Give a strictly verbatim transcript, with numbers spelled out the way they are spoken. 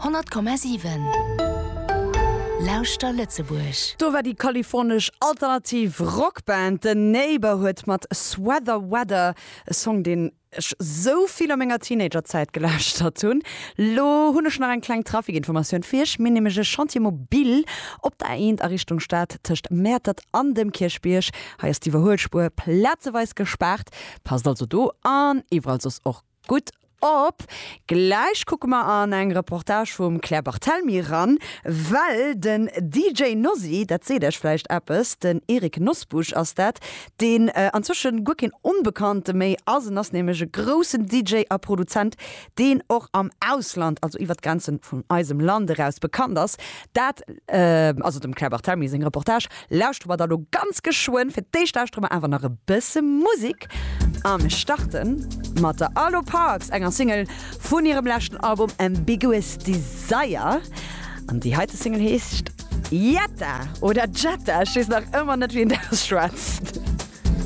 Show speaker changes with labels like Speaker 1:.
Speaker 1: honnert Komma siwen Lauschter Lëtzebuerg.
Speaker 2: Do war déi kalifornesch alternativ Rockband The Neighbourhood mat Sweater Weather, e Song deen ech sou vill a menger Teenagerzäit gelauschtert hunn. Lo hunn ech nach eng kleng Trafikinformatioun fir iech, Mir hunn nämlech e Chantier mobile op der A eent a Richtung Stad tëscht Mäertert an dem Kierchbierg. Hei ass d'Iwwerhuelspuer plazeweis gespaart. Passt also do an iwwerall soss och gutt op. Gläich kucke mer an eng Reportage vum Claire Barthelmy eran, well den D J Nosy, dat seet iech vläicht eppes, den Eric Nosbusch ass dat, deen anzwëschen guer keen Onbekannte méi ass. En ass nämlech e groussen D J a Produzent, deen och am Ausland, also iwwer d'Grenzen vun eisem Land eraus bekannt ass. Dat, also dem Claire Barthelmy seng Reportage, lauschtere mer da lo ganz geschwënn. Fir d'éischt lauschtere mer awer nach e bësse Musek a mir starte mat der Arlo Parks, enger Single vun hirem leschten Album Ambiguous Desire. An déi heite Single heescht Jetta oder Jetta, ech weess nach ëmmer net wéi een dat ausschwätzt.